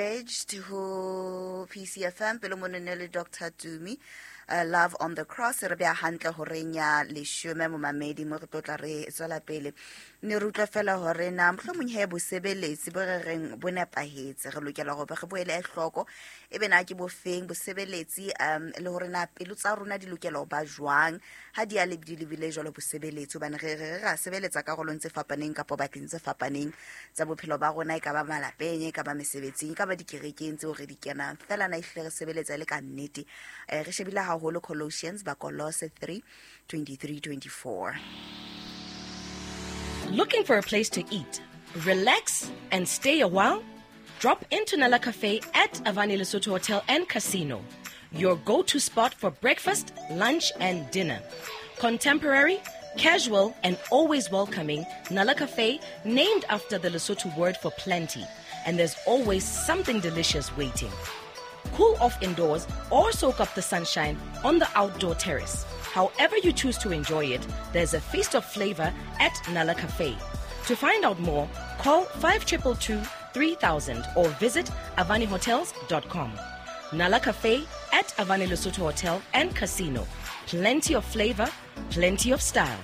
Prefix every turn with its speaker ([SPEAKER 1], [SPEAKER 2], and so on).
[SPEAKER 1] Engaged ho PCFM pele monene le Dr. Tumi, Love on the Cross. Re beya hantle horeng ya leshome, momamedi, mo re tlo tla re tswela pele ne re utlwa fela hore na mohlomong he bosebeletsi bo re reng bo nepahetse, re lokela hore re boele hloko e be na ke bofeng bosebeletsi, le hore na pelo tsa rona di lokela ho ba jwang ha di a le di lebile jwalo bosebeletsi, hobane re re ra sebeletsa karolong tse fapaneng kapa bakeng tse fapaneng tsa bophelo ba rona, e ka ba malapeng, e ka ba mesebetsing, e ka ba dikerekeng tseo re di kenang. Fela na ehlile re sebeletsa e le ka nnete? Re shebile haholo Colossians, Bakolose 3 23 24.
[SPEAKER 2] Looking for a place to eat, relax, and stay a while? Drop into Nala Cafe at Avani Lesotho Hotel and Casino, your go-to spot for breakfast, lunch, and dinner. Contemporary, casual, and always welcoming, Nala Cafe, named after the Lesotho word for plenty, and there's always something delicious waiting. Cool off indoors or soak up the sunshine on the outdoor terrace. However you choose to enjoy it, there's a feast of flavor at Nala Cafe. To find out more, call 5222 3000 or visit avanihotels.com. Nala Cafe at Avani Lesotho Hotel and Casino. Plenty of flavor, plenty of style.